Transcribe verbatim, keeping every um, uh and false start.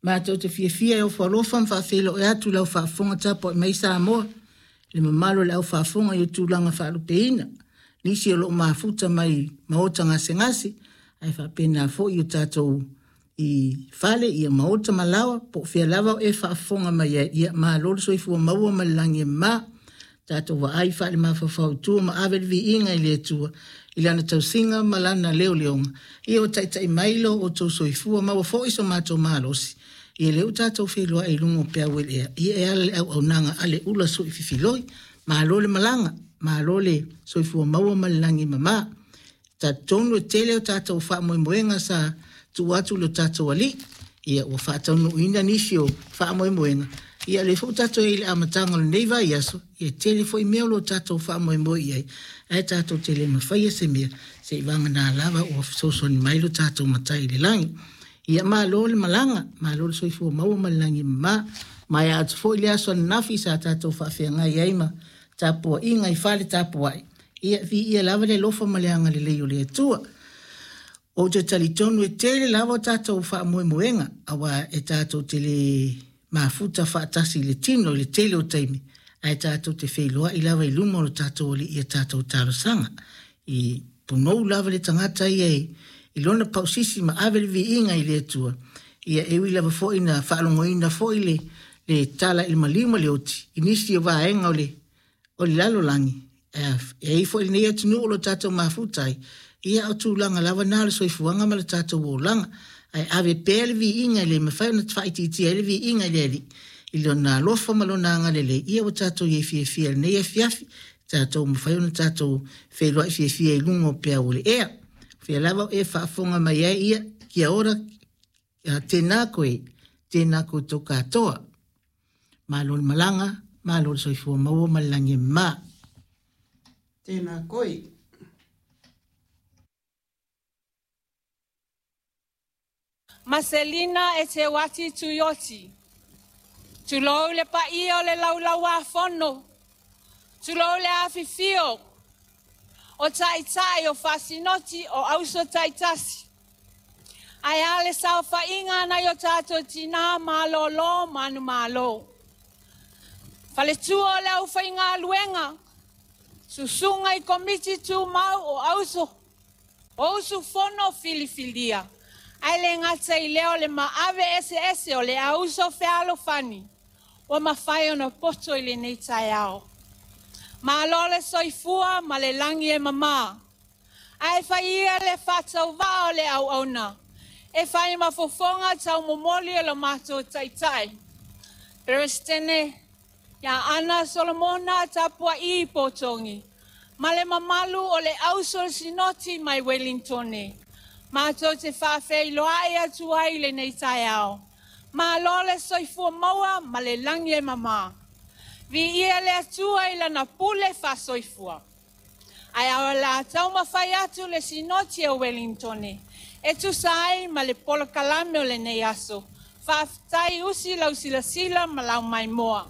Matou te fiafia e ofo alofa ma faafeiloai atu i lau faafofoga tapuai mai Samoa, le mamalu o le au faafofoga i tulaga faalupeina. Nisi o loo mafuta mai maota gasegase, ae faapena foi i o tatou i fale ia maota ma laoa po o fea lava o e faafofoga mai ai, ia malo le soifua maua ma le lagi e mama. Tatou vaai faale-mafaufau i tua ma ave le viiga i le Atua i lana tausiga ma lana leoleoga. Ia ua taitai mai lo outou soifua maua foi so matou malosi. Ia lea ua tatou feiloai i luga o peau e le ea. Ia e ala i le auaunaga a le ula sui fifiloi. Malo le malaga, malo le soifua maua ma le lagi e mama. Talitonu e tele o tatou faamoemoega sa tuu atu i lo tatou Alii. Ia ua faataunuuina nisi o faamoemoega. Ia lea foi ua tatou i ai i le amataga o lenei vaiaso, ia tele foi mea o lo o tatou faamoemoe i ai, ae tatou te le mafaia se mea, seivagana lava ua fesoasoani mai lo tatou Matai i le lagi. Ia malo le malaga, malo le soifua maua ma le lagi e mama. Maea atu foi le aso ananafi sa tatou faafeagai ai ma tapuaiga i fale tapuai. Ia viia lava le alofa ma le agalelei o le Atua. Ou te talitonu e tele lava o tatou faamoemoega, aua e tatou te le mafuta faatasi i le tino i le tele o taimi, ae tatou te feiloai lava i luma o le tatou Alii i a tatou talosaga. I punou lava le tagata ia i, i lona pausisi ma ave le viiga i le Atua. Ia e ui lava foi na faalogoina foi le, le tala i le maliu ma le oti i nisi o vaega o le, o le lalolagi. E ai foi lenei atunuu o lo tatou mafuta ai. Ia o tulaga lava na o le soifuaga ma le tatou olaga. Ae ave pea le viiga i le mafai ona faaitiitia ai le viiga i le Alii i lona alofa ma lona agalelei. Ia ua tatou iai fiafia i lenei afiafi, tatou mafai ona tatou feiloai fiafia i luga o peau o le ea. Fea lava o e faafofoga mai ai, ia kia ora, tēnā koe, tēnā koutou katoa. Malo le malaga, malo le soifua maua ma le lagi e mama. Tēnā koe. Maselina e te wati tuioti. Tulou le paia o le laulau a fono. Tulou le afifio o taitai o fasinoti o auso taitasi. Ae a le saofaiga nai o tatou tina malolo manu malo. Faletua o le aufaigaluega, susuga i komiti tumau o auso, o usufono filifilia. Ae le gata i lea o le maave eseese o le auso fealofani, ua mafai ona poto i lenei taeao. Malo le soifua ma le lagi e mama. Ae fai ia le faatauvaa o le auauna, e fai ma fofoga taumomoli o lo matou taitai. Peresetene ia Ana Solomona Tapua'i Potogi, ma le mamalu o le auso sinoti mai Wellingtone. Matou te faafeiloai atu ai i lenei taeao. Malo le soifua maua ma le lagi e mama. Viia le Atua i lana pule faasoifua. Ae o le a taumafai atu le sinoti o Wellingtone e tusa ai ma le polokalame o lenei aso. Faafetai usi lau silasila ma lau maimoa.